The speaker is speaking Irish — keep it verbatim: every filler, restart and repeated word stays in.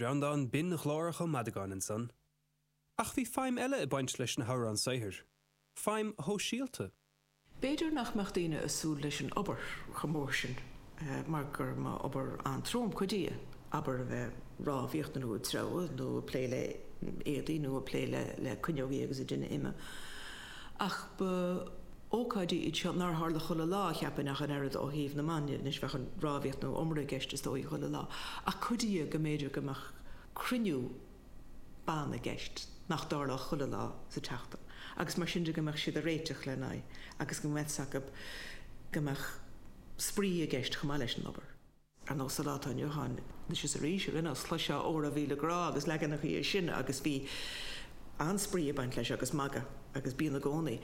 Breandán binn-ghlórach Ó Madagáin ansan. Ach bhí feidhm eile ag baint leis na hamhráin saothair. Feidhm shóisialta. B'fhéidir nach mbeadh daoine ag súil leis an obair chomh mór sin mar gur mba obair an-trom cuid di, abair a bheith rámhaíocht nó ag treabhadh nó ag plé le éadaí nó ag plé le le cuinneogaí agus ag déanamh ime. Ach ba ócáidí iad seo nár tharla chuile lá, cheapfainn, ach an oiread ó thaobh na mban de. Anois bheadh an rámhaíocht nó iomaire i gceist is dóigh chuile lá. Ach cuid di go mb'fhéidir go mbeadh cruinniú ban i gceist nach dtarlódh chuile lá sa tseachtain agus mar sin de go mbeadh siad ag réiteach lena aghaidh agus go mbeadh 's acu go mbeadh spraoi i gceist chomh maith leis an obair. Ar nós sa lá atá inniu ann, anois is arís ar aon nós, chloisfeá Óra Mhíle Grá agus leaganachaí de sin agus bhí an-spraoi ag baint leis agus magadh agus bíonn i gcónaí.